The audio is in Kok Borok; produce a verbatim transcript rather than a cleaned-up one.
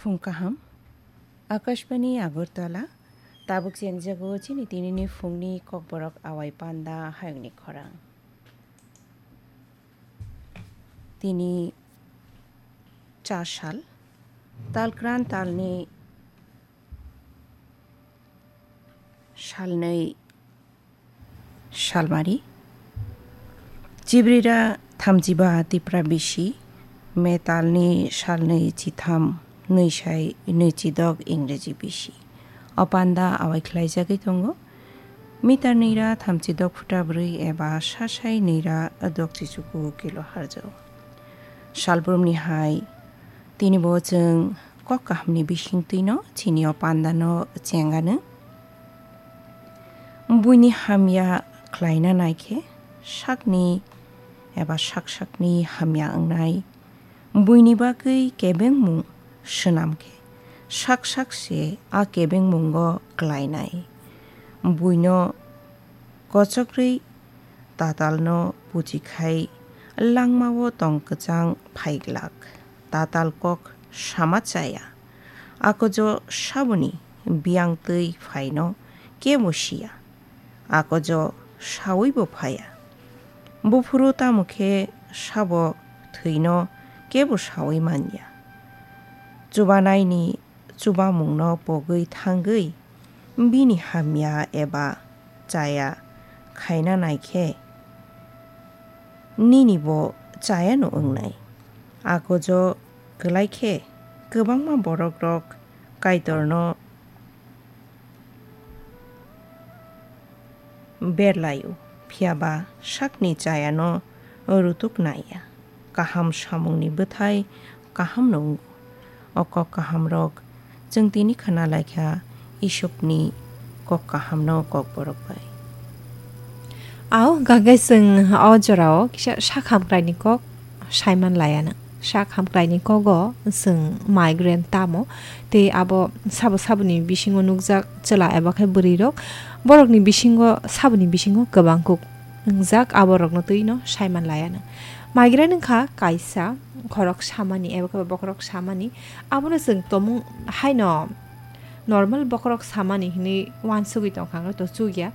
Phung kaham. Akashbani Agartala, tabuk chengjago chini tinini phungni kokborok awai panda hayungni khorang. Tini chasal, talkran talni salnwi salmari. Chibrira thamchiba Tipra bisi, metalni salnwi chitham nwisai nwichidok Ingreji bisi. O panda awai khlaijagwi tongo. Mitar nira thamchidok phuta bwrwi eba sasai nira dok chichuku kilo harjao. Salbrumni hai tini bo chwng kok kahamni bisingtwino chini o pandano chengano. Buini hamya khlaina naikhe sakni eba sak sakni hamya wngnai. Buini bagwi kebengmung swnam khe sak sak se a kebengmungo klainai. Buino kochokrwi tatalno puchikhai langmao tong kwchang phaiglak. Tatal kok sama chaya. Akojo saboni biyang twi phaino kebo siya. Akojo sawibo phaya. Buphuru tamo khe sabo thwino kebo sawi manya. Chubanaini chubamungno pogwi thangwi bini hamya eba chaya khaina naikhe nini bo chayano wngnai. Akojo kwlai khe kwbangma borokrok Kaitorno berlaio, phiya ba sakni chayano rutuk naiya. Kaham samungni bwthai kahamno wngo. O kok kahamrok chwng tini khna laikha Isupni kok kahamno kokborok bai. Ao, gagai chwng o jorao kisa sak hamkraini kok saiman laiya nang. Sak hamkraini kogo chwng migraine tamo, tei abo sabo saboni bisingo nukjak chwla eba khe bwrwirok, borokni bisingo, saboni bisingo kwbang kuk wngjak, aborokno twino saiman laiya nang. Migraine wngkha kaisa khorok samani eba khe bokhorok samani, abono chwng tomung haino normal bokhorok samani hinwi uansugwi tongkha, wngkha to chukya.